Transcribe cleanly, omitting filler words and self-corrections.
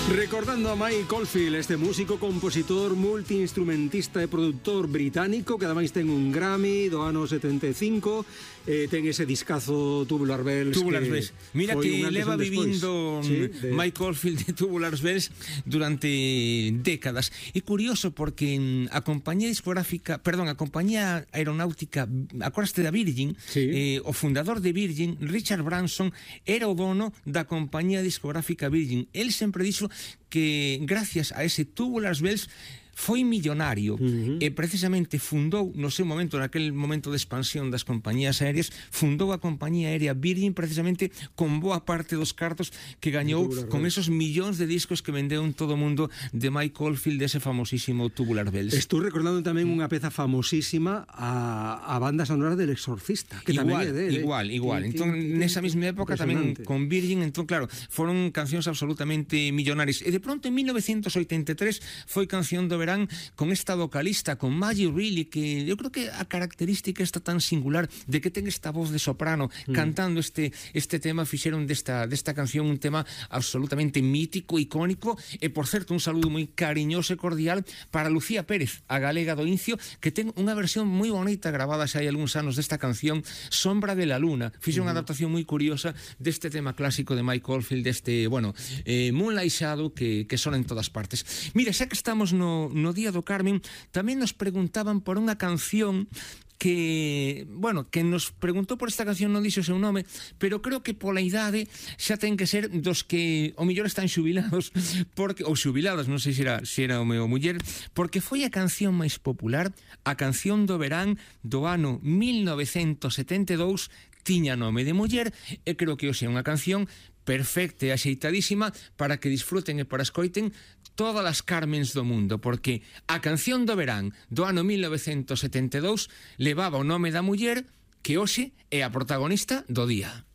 Recordando a Mike Oldfield, este músico, compositor, multiinstrumentista e produtor británico que ademais ten un Grammy do ano 75, ten ese discazo Tubular Bells. Tubular Bells. Mira que leva vivindo Mike Oldfield de Tubular Bells durante décadas. É curioso porque a compañía discográfica, perdón, a compañía aeronáutica, acordaste da Virgin, o fundador de Virgin, Richard Branson, era o dono da compañía discográfica Virgin. El sempre dixo que gracias a ese Tubular Bells foi millonario e precisamente fundou no seu momento, naquele momento de expansión das compañías aéreas, fundou a compañía aérea Virgin precisamente con boa parte dos cartos que gañou con esos millóns de discos que vendeu en todo o mundo de Mike Oldfield, dese famosísimo Tubular Bells. Estou recordando tamén unha peza famosísima, a banda sonora del Exorcista, que tamén é dele. Igual. Entón, nesa mesma época tamén con Virgin, entón claro, foron cancións absolutamente millonarias. E de pronto en 1983 foi canción do verán con esta vocalista, con Maggie Reilly, que eu creo que a característica está tan singular de que ten esta voz de soprano cantando este tema, fixeron desta canción un tema absolutamente mítico, icónico, e por certo un saludo moi cariñoso e cordial para Lucía Pérez, a galega do Incio, que ten unha versión moi bonita grabada xa hai algúns anos desta canción Sombra de la Luna. Fixe unha adaptación moi curiosa deste tema clásico de Mike Oldfield, deste, Moonlight Shadow que sona en todas partes. Mira, xa que estamos no Día do Carmen, tamén nos preguntaban por unha canción que nos preguntou por esta canción, non dixo o seu nome, pero creo que pola idade xa ten que ser dos que o mellor están xubilados, ou xubiladas, non sei se era o meu muller, porque foi a canción máis popular, a canción do verán do ano 1972, tiña nome de muller, e creo que hoxe é unha canción perfecta e axeitadísima para que disfruten e para escoiten todas as Carmens do mundo, porque a canción do verán do ano 1972 levaba o nome da muller que hoxe é a protagonista do día.